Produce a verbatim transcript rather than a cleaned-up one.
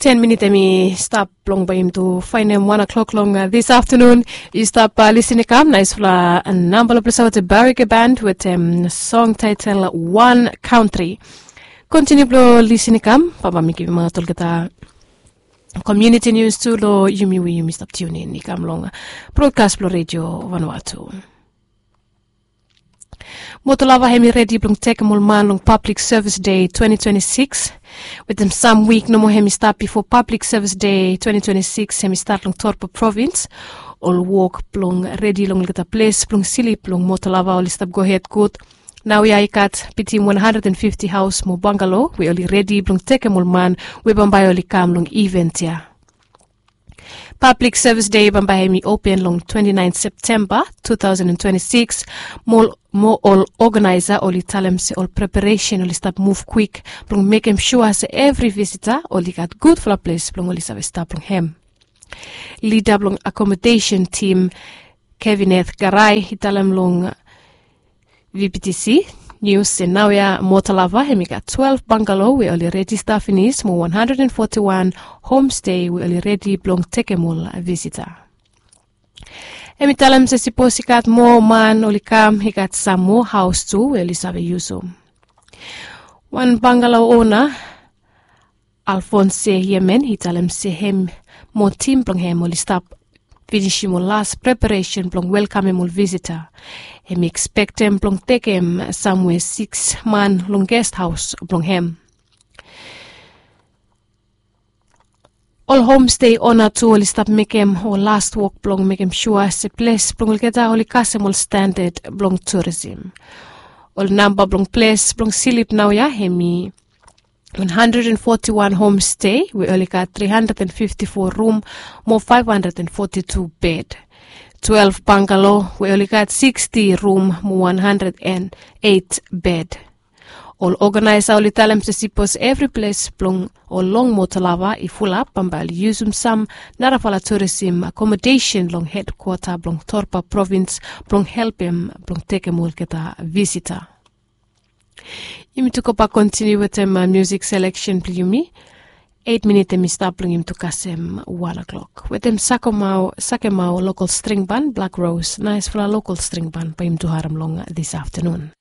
Ten minit em i stap blong bae yumi tu faenem wan o'klok long dis aftenun. I stap lisin i kam naesfala namba long ples aote Barrick Band wetem song taetel One Country. Kontiniu blong lisin i kam bambae mi givim aot olgeta komuniti nius tu long yumi we yumi stap tiunin i kam long brodkas blong redio Vanua tu. Motolava hem i redi blong tekem ol man long Pablik Sevis Dei twenti twenti sikis. Wetem sam wik nomo hem i stap bifo Pablik Sevis Dei twenti twenti sikis hem i stat long Torpa provins, ol wok blong redi long olgeta ples blong slip blong motolava oli stap gohed gud. Naoia i gat bitim wan handred and fifti haos mo bangalo we oli redi blong tekem ol man we bambae oli kam long iven ya. Pablik Sevis Dei bambae hem i open long twenti naen Septemba tu taosen twenti sikis. Mo ol oganaesa oli talem se ol preparesen oli stap muv kwik blong mekem sua se evri visita oli gat gudfala ples blong oli save stap long hem. Lida blong akomodesen tim Kevineth Garai i talem long VPTC nius se naoia Motolava hem i gat twelef bangalo we oli rejista finis mo wan handred and foti wan homstei we oli redi blong tekem ol visita. Hem i talem se sipos i gat moa man oli kam i gat sam moa haos tu we oli save yusum. Wan bangalo ona Alfonse Yemen i talem se hem mo tim blong hem oli stap finisim ol las preparesen blong welkamem ol visita. Hem i ekspektem blong tekem samwe sikis man long gesthaos blong hem. Ol homstei ona tu oli stap mekem ol las wok blong mekem sua se ples blong olgeta oli kasem ol standad blong turisim. Ol namba blong ples blong slip naoia hem i wan handred and foti wan homstei we oli gat tri handred and fifti fo rum mo faef handred and foti tu bed. Twelef bangalo we oli gat siksti rum mo wan handred and eit bed. Ol oganaesa oli talem se sipos evri ples blong ol long Motolava i fulap bambae oli yusum sam narafala turisim akomodesen long hedkwata blong Torpa provins blong helpem blong tekem olgeta visita. Yumi tu gobak kontiniu wetem miusik seleksen blong yumi. Eit minit hem i stap blong yumi tu kasem wan o'klok wetem sakemao lokol stringban Blak Ros, naesfala lokol stringban bae yumi tu harem long dis aftenun.